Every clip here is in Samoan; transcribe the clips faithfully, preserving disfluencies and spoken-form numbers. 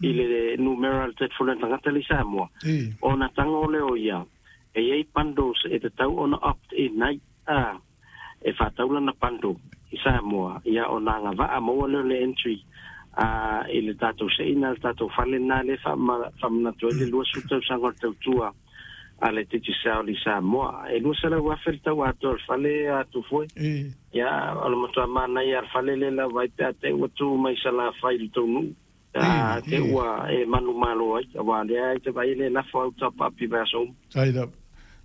I le numera le telefone tagata le Samoa. Ona tago lea o ia e iai bundles e tatau ona opt in ai a e faatau lana bundle i Samoa, ia ona agavaa maua lea o le entry a i le tatou seina le tatou fale lena lea faamanatu ai le luasefulu tausaga o le tautua a le Digicel i Samoa. E lua selau afe le tau atoa o le fale atu foe. Ia o le matua manaia le fale lea lava ai pe a te ua tu mai Salafai i le taunuu. A te ua e manumalo ai, auā lea ai te vaai le lafo au tapaapi vaiaso uma. Ai lava.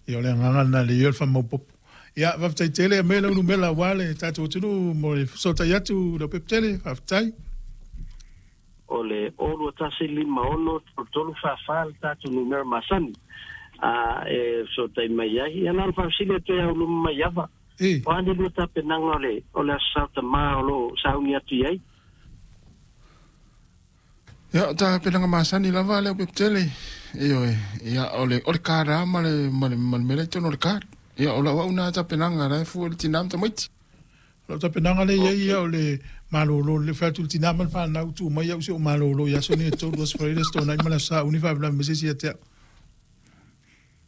Ia o le agaga lena le ia o le faamaopoopo. Ia faafetai tele aumai lau numera aua le tatou atunuu mo le fesootai atu Leaupepe Tele, faafetai. O le o lua tasi lima ono tolu tolu fa fa le tatou numera masani a e fesootai mai ai. Ia na ona faafesili atu ai au luma mai ava. O a ni lua tapenaga o le o le Aso Sa o Tamā o lo o sauni atu i ai? Ia, o tapenaga masani lava Leaupepe Tele. Ioe, ia o le o le kālā ma le ma le ma le mea lea i totonu o le card. Ia o lau au na tapenaga la e fua i le tinā ma tamaiti. O lau tapenaga lea i ai ia o le malolo, le fai atu i le tinā ma le fanau, tuu mai au si ou malolo i aso nei e tolu, Aso Faraile, Aso Toonai ma le Aso Sauni, faalavelave mai se isi ia te au.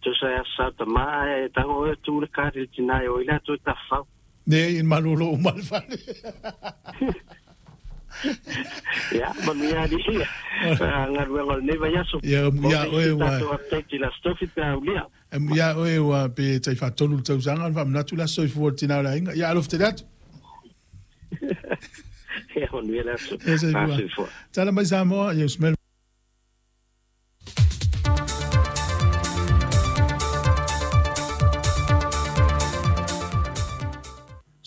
Tusa e Aso Sa o Tamā ae tago oe tu le card i le tinā e o ai le atu e tafafao. Nei, e malolo uma le fale. Ia, manuia alii ia galuega o lenei vaiaso. Ia, amuia oe ua tatou update i le Aso Tofi pe a aulia. Amuia oe ua pe tai faatolu le tausaga ona faamanatu le aso soifua o le tinā o le aiga. Ia, alofa tele atu. Ia, manuia le aso. Ia, soifua. Tala mai Samoa, ia usi mai.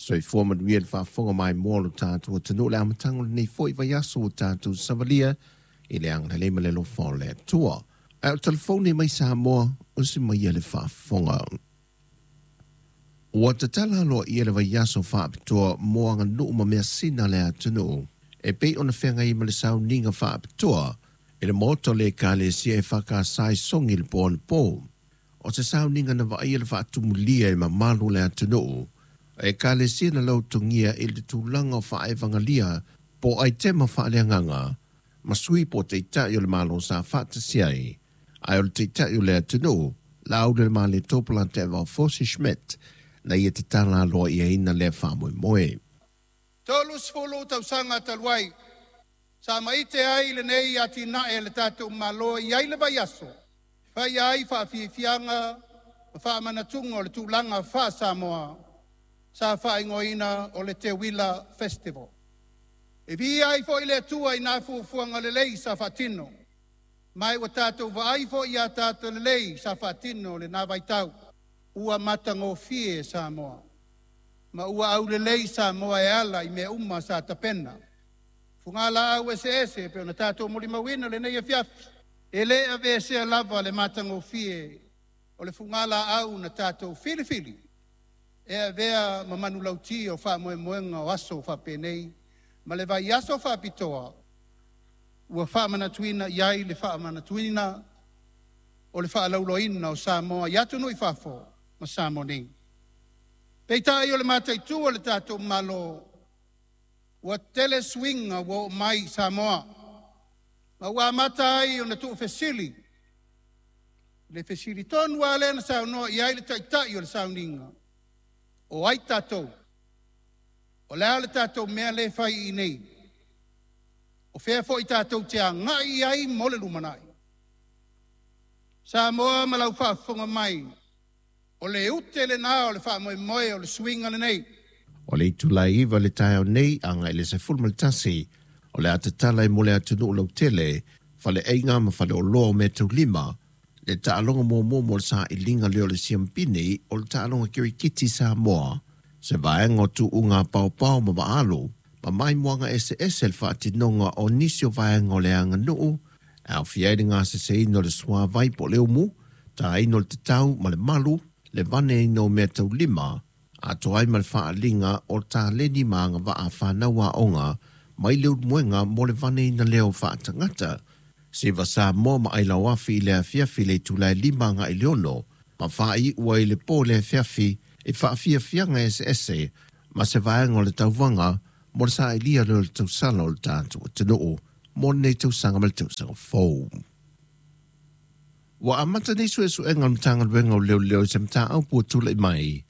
Soifua manuia le faafofoga maimoa o lo tatou atunuu le amataga o lenei foi vaiaso ua tatou savalia i le agalelei ma le alofa o le Atua. Ae o le telefoni mai Samoa, usi mai le faafofoga. Ua tatala aloaia le vaiaso faapitoa mo aganuu ma measina a le atunuu e pei ona feagai ma le sauniga faapitoa i le Maota o le Ekalesia e Faakasai Sogi i le po anapo. O se sauniga na vaaia le faatumulia e mamalu o le atunuu a Ekalesia na lautogia i le tulaga o faaevagalia po o aitema faaleagaga ma sui po o taitai o le Malo sa faatasi ai, ae o le taitai o le atunuu, Laaulialemalietoa Polataivao Fosi Schmidt, na ia tatala aloaiaina lea faamoemoe. Tolusefulu tausaga talu ai, sa maite ai lenei atinae a le tatou Malo e i ai le vaiaso e faia ai faafiafiaga ma faamanatuga o le tulaga faa-Samoa sa faaigoaina o le Teuila Festival. E viia ai foi le Atua i nā fuafuaga lelei sa faatino, ma ua tatou vaai foi iā tatou lelei sa faatino lenā vaitau. Ua matagofie Samoa, ma ua aulelei Samoa e ala i mea uma sa tapena. Fugalaau eseese e pei ona tatou molimauina lenei afiafi, e lē aveesea lava le matagofie o le fugalaau na tatou filifili e avea ma manulauti o faamoemoega o aso faapenei ma le vaiaso faapitoa ua faamanatuina i ai le faamanatuina o le faalauloaina o Samoa i atunuu i fafo ma Samoa nei. Peitai o le mataitu o le tatou Malo, ua tele suiga ua oo mai i Samoa, ma ua amata ai ona tuufesili le fesili tonu lava lea na saunoa i ai le taitai o le sauniga, o ai tatou? O le a le tatou mea lea e fai i inei? O fea foi tatou te agai i ai mo le lumanai? Samoa ma lau faafofoga mai, o le ute lenā o le faamoemoe o le suiga lenei. O le itula e iva i le taeao nei agai i le sefulu ma le tasi, o le a tatala ai mo le atunuu lautele, faleaiga ma faleoloa o meataulima, le taaloga muamua mo le sailiga lea o le siampini o le taaloga kirikiti Samoa, se vaega o tuuga paopao ma vaalu, ma maimoaga eseese le faatinoga o nisi o vaega o le aganuu, e aofia ai le gaseseina o le suavai po o le umu, taina o le tatau ma le malu, le vaneina o meataulima, atoa ai ma le faaaliga o taleni ma agavaa fanau aoga mai le ulumuega mo le vaneina lea o faatagata. Siva Samoa ma Ailauafi i le afiafi i le itula e lima agai i le ono, ma faaiua i le po i le afiafi i faafiafiaga eseese ma se vaega o le tauvaga mo le sailiga lea o le tausala o le tatou atunuu. mo lenei tausaga ma le tausaga fou. Ua amata nei suesuega o le Matagaluega o Leoleo i se mataupu ua tula'i mai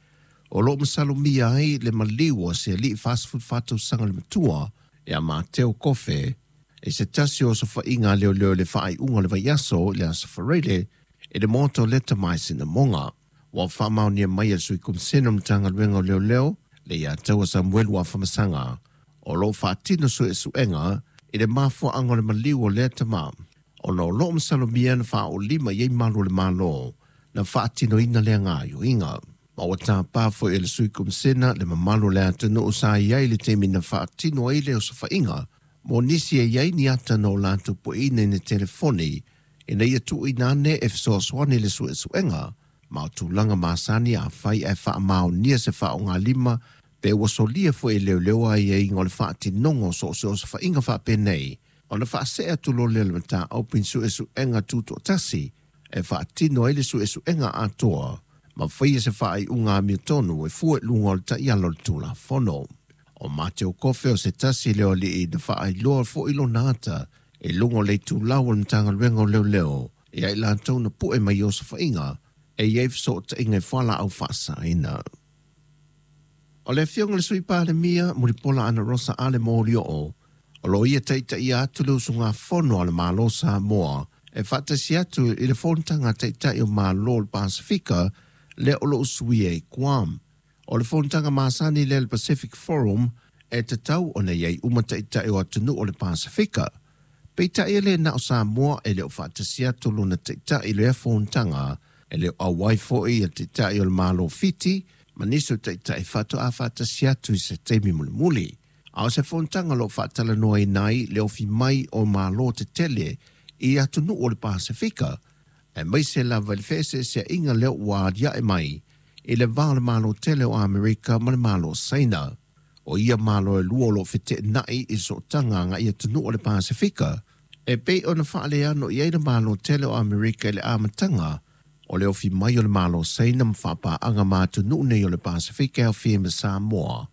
o loo masalomia ai le maliu o se ali'i fasefulufa tausaga le matua ia Mateo Kofe e se tasi o sofa'iga a leoleo i le faaiuga o le vaiaso i le Aso Faraile i le maota o Leta mai Sinamoga. Ua faamaonia mai e le Sui Komisena o le Matagaluega o Leoleo le ia taua Samuelu Afamasaga o loo faatino suesuega i le mafuaaga o le maliu o lea tamā ona o loo masalomia na faaolima i ai malu o le Malo na faatinoina lea gaoioiga. Ma ua tapā foi e le Sui Komisena le mamalu o le atunuu sa i ai le taimi na faatino ai le osofa'iga mo nisi e iai ni ata na o latou pueina i ni telefoni ina ia tuuina ane e fesoasoani le suesuega ma o tulaga masani afai ae faamaonia se faaaogalima pe ua solia foi e leoleo aiaiga o le faatinoga o so o se osofa'iga faapenei ona faasee atu loa lea o le mataupu i ni suesuega tuto'atasi e faatino ai le suesuega atoa ma faia se faaiuga amiotonu e fua i luga o le ta'iala o le Tulafono. O Mateo Kofe o se tasi lea o ali'i na faailoa fo'i lona ata i luga o le itulau o le Matagaluega o Leoleo ia i latou na pu'e mai i osofa'iga e iai feso'ota'iga i fuala'au fa'asaina. O le afioga i le Sui Palemia Mulipola Anarosa Ale Molioo o loo ia ta'ita'ia atu le usugafono a le Malo Samoa e faatasi atu i le fonotaga a ta'ita'i o Mālō o le Pasifika lea o loo usuia i Guam. O le fonotaga masani lea le Pacific Forum e tatau ona i ai uma ta'ita'i o atunuu o le Pasifika. Peitai e lē na o Samoa e le o faatasi atu lona ta'ita'i i lea fonotaga e le o auai fo'i ia ta'ita'i o le Malo Fiti ma nisi o ta'ita'i faato'a faatasi atu i se taimi mulimuli. A o se fonotaga o loo faatalanoaina ai le ofi mai o Mālō tetele i atunuu o le Pasifika aemaise lava i le fe'ese'esea'iga lea ua alia'e mai i le va o le Malo tele o Amerika ma le Malo Saina. O ia Malo e lua o loo fete'ena'i i sootaga aga'i atunuu o le Pasifika e pei ona faaleano i ai le Malo tele o Amerika i le amataga o le ofi mai o le Malo Saina ma faapaaga ma atunuu nei o le Pasifika e aofia ai ma Samoa.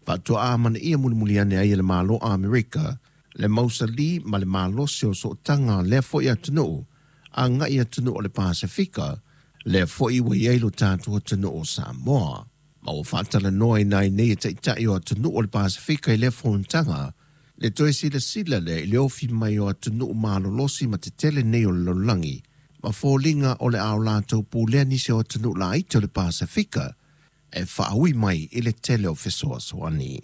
Faatoa amanaia mulimuli ane ai e le Malo Amerika le mausalī ma le malosi o sootaga lea fo'i atunuu aga'i atunuu o le Pasifika lea fo'i ua i ai lo tatou atunuu o Samoa. Ma ua faatalanoaina ai nei e ta'ita'i o atunuu o le Pasifika i lea fonotaga le toe silasila lea i le ofi mai o atunuu malolosi ma tetele nei o le lalolagi ma foliga o le a o latou pulea nisi o atunuu laiti o le Pasifika e faaui mai i le tele o fesoasoani.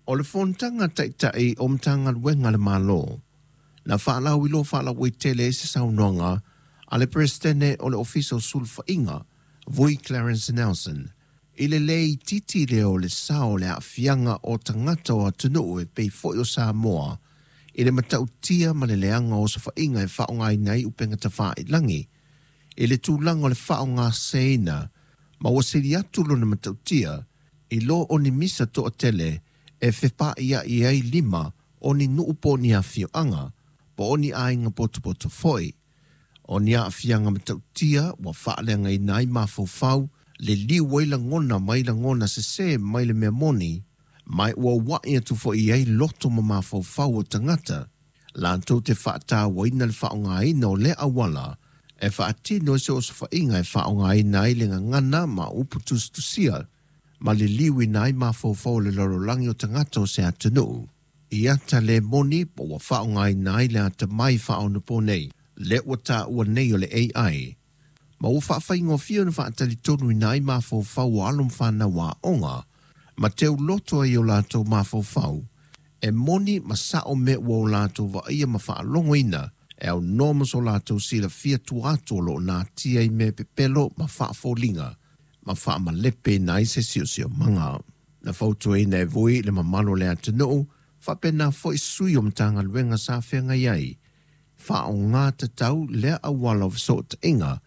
O le fonotaga ta'ita'i o Matagaluega a le Malo na faalauiloa faalauaitele ai se saunoaga a le Peresetene o le Ofisa o Sulufa'iga Vui Clarence Nelson i le lē itiiti lea o le sao o le aafiaga o tagata o atunuu e pei fo'i o Samoa i le matautia ma le leaga o osofa'iga e faaaogaina ai upega tafa'ilagi i le tulaga o le faaaogaseseina ma ua sili atu lona matautia i lo o ni misa to'atele e fepa'ia'i ai lima o ni nuu po o ni afio'aga po o ni aiga potopoto fo'i. O ni aafiaga matautia ua faaleagaina ai mafaufau liliu ai lagona mai lagona sesē mai le mea moni ma ua ua'i atu fo'i ai loto ma mafaufau o tagata latou te faatauaina le faaaogaina o lea auala e faatino ai se osofa'iga e faaaogaina ai le gagana ma upu tusitusia ma liliuina ai mafaufau o le lalolagi o tagata o se atunuu. I ata lē moni po ua faaaogaina ai le atamai faaonaponei lea ua taua nei o le A I ma ua faafaigofie ona faatalitonuina ai mafaufau o alo ma fanau aoga ma teuloto ai o latou mafaufau e moni ma sa'o mea ua o latou vaaia ma faalogoina e aunoa ma so latou silafia tua atu o loo natia i mea pepelo ma faafoliga ma faamalepeina ai se siosiomaga. Na fautuaina e Vui le mamalu o le atunuu faapena fo'i sui o Matagaluega sa feagai ai faaaogā tatau lea auala o feso'ota'iga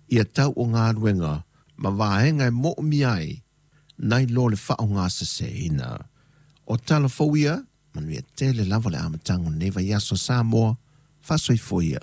ia tau o galuega ma vaega e mo'omia ai nai lo le faaaogaseseina. O tala fou ia, manuia tele lava le amataga o lenei vaiaso Samoa, faasoifua ia.